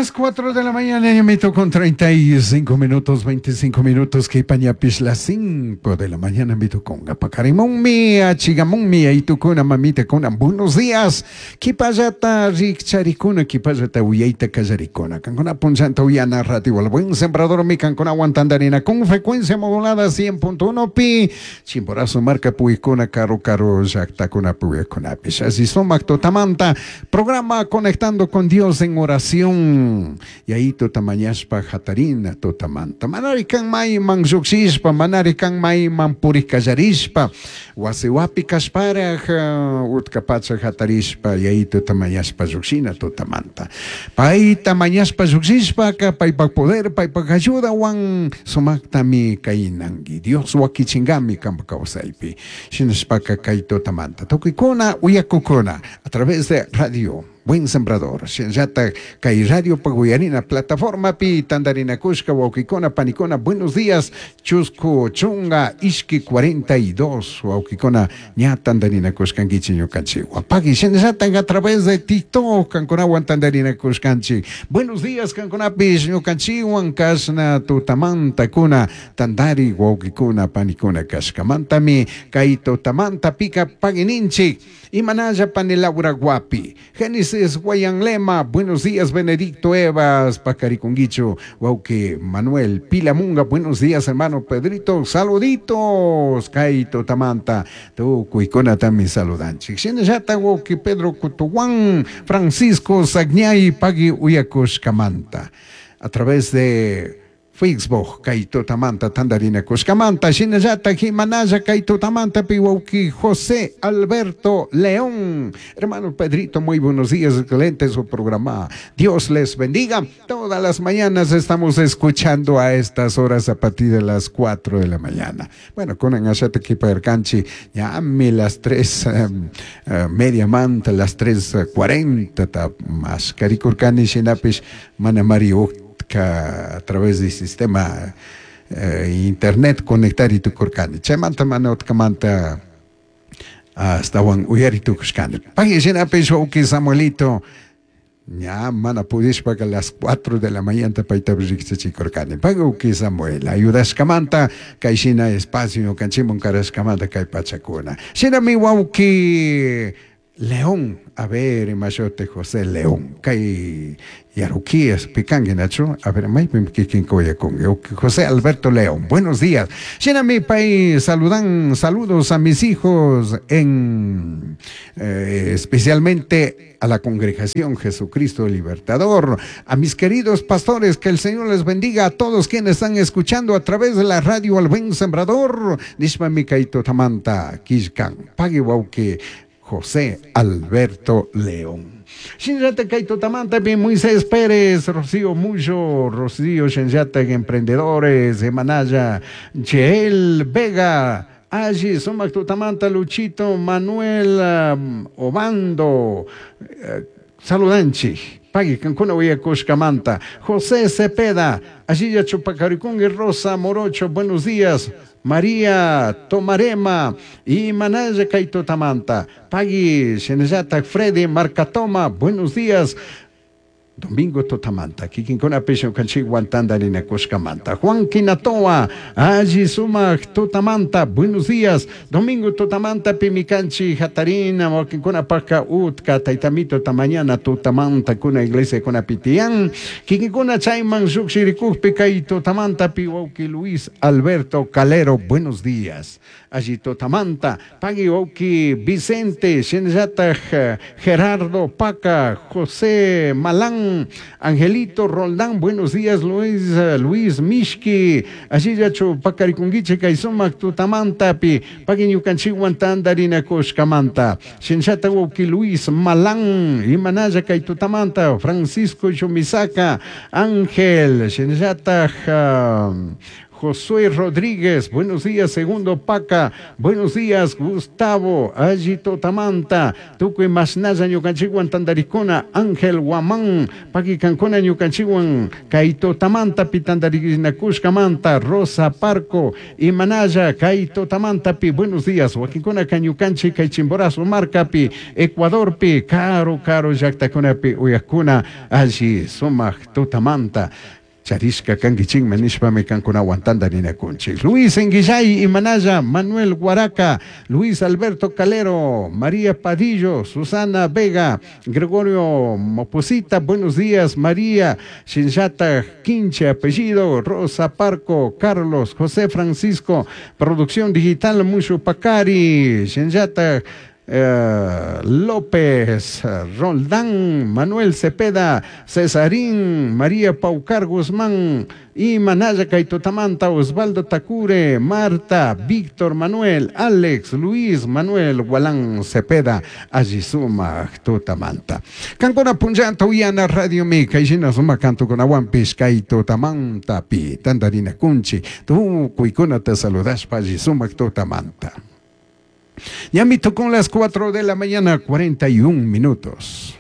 Las 4 de la mañana, ñamito con 35 minutos, 25 minutos, que pañapis las 5 de la mañana, mito con gapakarimunmi, achigamunmi, aitukuna, mamita kuna, buenos días, kipallata rikcharikuna, kipallata uyaita kallarikuna, kankuna punchanta uyana radio, al buen sembrador mi kankuna aguantandarina con frecuencia modulada 100.1 pi, chimborazo marca puikuna, caro caro, llaktakuna puikuna, así sumak tutamanta, programa Conectando con Dios en oración. Yaito tamañashpa hatarina tutamanta. Manari kan mayman lluqshishpa, manari kan mayman purikallarishpa, wasiwapi kashparaj utkapacha hatarishpa, yaito tamañashpa lluqshina tutamanta. Pay tamañashpa lluqshishpaka, paypak poder, paypak ayudawan sumaktami kaynanki. Dios wakichingami kampa kawsaypi. Shinashpaka kay tutamanta. Tukuykuna uyakukuna a través de radio Buen Sembrador. Shinallata kay radio paguyarina plataforma pi tandarina kushka wawkikuna panikuna buenos días chusku chunga ishki 42 wawkikuna ña tandarina kushkankichik ñukanchik wapaki shinallata a través de TikTok kankunawan tandarina kushkanchik buenos días kankunapish ñukanchikwan kashna tutamanta kuna tandari wawkikuna panikuna kashkamantami kay tutamanta pika pagininchik imanalla pani Laura Guapi Génesis Guayanlema, buenos días Benedicto Evas, Pacariconguicho, Wauque Manuel Pilamunga, buenos días hermano Pedrito, saluditos, Kaito Tamanta, tu cuicona también saludanchik. Shinallata Wauque Pedro Cutuguán, Francisco Sagñay, Pagui Uyakush Kamanta, a través de Facebook, Kaito Tamanta, Tandarina Kushkamanta, Shinallata, Jimanaya, Kaito Tamanta, Piwauki, José Alberto León. Hermano Pedrito, muy buenos días, excelente su programa. Dios les bendiga. Todas las mañanas estamos escuchando a estas horas a partir de las 4 de la mañana. Bueno, con Angashata Kipaerkanchi, ya las 3, media manta, las 3:40, más Karikurkani, Shinapish, Manamari a través del sistema internet conectar y tukurkani. Chaymanta mana utkamanta astawan uyari tukushkani. Pagui shinapish wawqi Samuelito ña mana pudishpaka las 4 de la mañana payta riqsichikurkani. Pagui wawqi Samuel ayudashkamanta kay shina espacio ñukanchikman karashkamanta kay pachakuna. Shinami wawqi León, a ver, imashote José León, kay Yaruquías, picangue, Nacho, a ver, maypim kikin koyakunki, José Alberto León, buenos días. Shinami pay, saludan, saludos a mis hijos en, especialmente a la congregación Jesucristo Libertador, a mis queridos pastores, que el Señor les bendiga a todos quienes están escuchando a través de la radio Al Buen Sembrador, Nishma Mikaito Tamanta, Kishkan, Pagui wawqi, José Alberto León. Shinllata kay tutamanta pi Moisés Pérez, Rocío Muyo, Rocío Shinllata Emprendedores, Emanaya, Cheel Vega, Allí, Sumac Tutamanta, Luchito, Manuel Obando, saludanchi. Pagui, kankuna uyakushkamanta. José Cepeda, Allí Chupacaricungui, Rosa Morocho, buenos días. María Tomarema y Manaya Kaito Tamanta. Pagui, Shenellata, Freddy Marcatoma, buenos días. Domingo Totamanta, kikinkuna pisho kanchik guantandarina kushkamanta. Juan Quinatoa, Allí Sumac Totamanta, buenos días. Domingo Totamanta, Pimicanchi, Jatarina, wakinkuna paka utka, taitamito tamañana, Totamanta, kuna iglesia, kuna pitián. Kikinkuna chayman shukshirikukpi, kay Totamanta, piwauki Luis Alberto Calero, buenos días. Allí Totamanta, Pagui wawqi Vicente, Shinllata, Gerardo Paca, José Malán, Angelito Roldán, buenos días, Luis Mishki, Allillachu Pacarikunguiche, Kaysumac Tutamanta, pi, Pagui ñukanchikwan tandarina kushkamanta, Shinllata wawqi Luis Malán, Imanaya kay Tutamanta, Francisco Chumisaca, Ángel, Shinllata, Josué Rodríguez, buenos días, Segundo Paca, buenos días, Gustavo, alli tutamanta, tukuy mashnalla ñukanchikwan tantarikuna, Ángel Guamán, paki kankuna ñukanchikwan, kay tutamantapi tantarinakushkamanta, Rosa Parco, imanalla, kay tutamantapi, buenos días, wakinkunaka ñukanchik kay Chimborazo markapi, Ecuadorpi, karu karu llaktakunapi uyakuna, alli sumak tutamanta, charishka kankichikman nishpami kankunawan tantarinakunchik. Luis Enguillay Imanaya, Manuel Guaraca, Luis Alberto Calero, María Padillo, Susana Vega, Gregorio Moposita, buenos días, María Shinjata Quinche, apellido, Rosa Parco, Carlos, José Francisco, Producción Digital, Mushu Pacari, Shinjata López, Roldán, Manuel Cepeda, Cesarín, María Paucar Guzmán, y Manaya Kaitotamanta, Osvaldo Tacure, Marta, Víctor Manuel, Alex, Luis Manuel, Gualán Cepeda, Allisuma, Tutamanta. Kankuna punllanta uyana Radio Mi, kayshina sumak cantokunawanpish kay tutamantapi, tantarina kunchi, tukuykunata saludashpa allisumak tutamanta. Ñami con las 4 de la mañana, 41 minutos.